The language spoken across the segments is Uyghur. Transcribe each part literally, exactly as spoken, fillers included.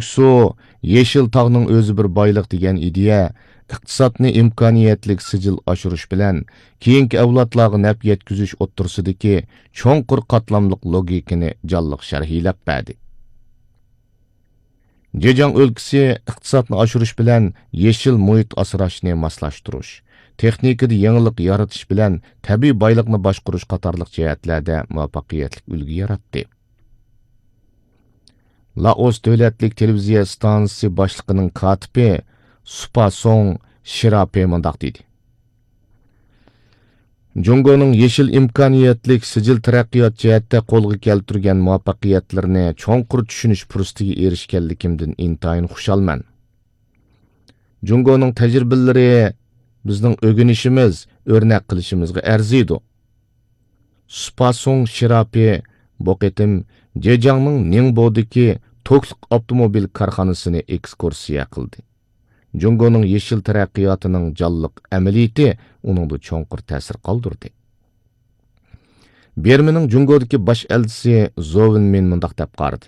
سۇ، يېشىل تاغنىڭ ئۆزى بىر بايلىق دېگەن ئىدىيە ئىقتىسادنى ئىمكانىيەتلىك سىجىل ئاشۇرۇش بىلەن كېيىنكى ئەۋلادلارغا نەپ يەتكۈزۈش ئوتتۇرىسىدىكى چوڭقۇر قاتلاملىق لوگىكىنى جانلىق شەرھلەپ بەردى. جېجياڭ ئۆلكىسى ئىقتىسادنى ئاشۇرۇش بىلەن يېشىل مۇھىت ئاسراشنى ماسلاشتۇرۇش، تېخنىكىدا يېڭىلىق يارىتىش بىلەن تەبىئىي بايلىقنى باشقۇرۇش قاتارلىق جەھەتلەردە مۇۋەپپەقىيەتلىك ئۈلگە ياراتتى. لائوس دۆلەتلىك تېلېۋىزىيە ئىستانسىسى باشلىقىنىڭ كاتىپى سۇپاسوڭ شىراپې مۇنداق دېدى: جۇڭگونىڭ يېشىل ئىمكانىيەتلىك سىجىل تەرەققىيات جەھەتتە قولغا كەلتۈرگەن مۇۋەپپەقىيەتلىرىنى چوڭقۇر چۈشىنىش پۇرسىتىگە ئېرىشكەنلىكىمدىن ئىنتايىن خۇشالمەن. جۇڭگونىڭ تەجرىبىلىرى بىزنىڭ ئۆگىنىشىمىز، ئۆرنەك قىلىشىمىزغا ئەرزىيدۇ. سۇپاسۇڭ شىراپى بۇ قېتىم جېجياڭنىڭ نىڭبودىكى توكلۇق ئاپتوموبىل كارخانىسىنى ئېكسكۇرسىيە قىلدى. جۇڭگونىڭ يېشىل تەرەققىياتىنىڭ جانلىق ئەمەلىيىتى ئۇنىڭدا چوڭقۇر تەسىر قالدۇردى. بىرمىنىڭ جۇڭگودىكى باش ئەلچىسى زو ۋېنمىن مۇنداق دەپ قارىدى: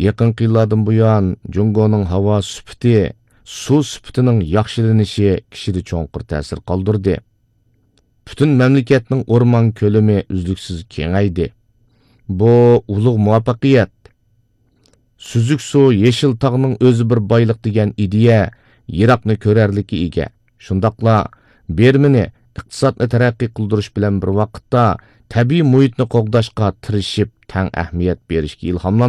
يېقىنقى يىللاردىن بۇيان، جۇڭگونىڭ ھاۋا سۈپىتى، سۇ سۈپىتىنىڭ ياخشىلىنىشى كىشىدە چوڭقۇر تەسىر قالدۇردى. پۈتۈن مەملىكەتنىڭ ئورمان كۆلىمى ئۈزلۈكسىز كېڭەيدى. بۇ ئۇلۇغ مۇۋەپپەقىيەت. سۈزۈك سۇ، يېشىل تاغنىڭ ئۆزى بىر بايلىق دېگەن ئىدىيە يىراقنى كۆرەرلىككە ئىگە. شۇنداقلا بىرمىنى ئىقتىسادنى تەرەققىي قىلدۇرۇش بىلەن بىر ۋاقىتتا تەبىئىي مۇھىتنى قوغداشقا تىرىشىپ تەڭ ئەھمىيەت بېرىشكە ئىلھاملاندۇردى.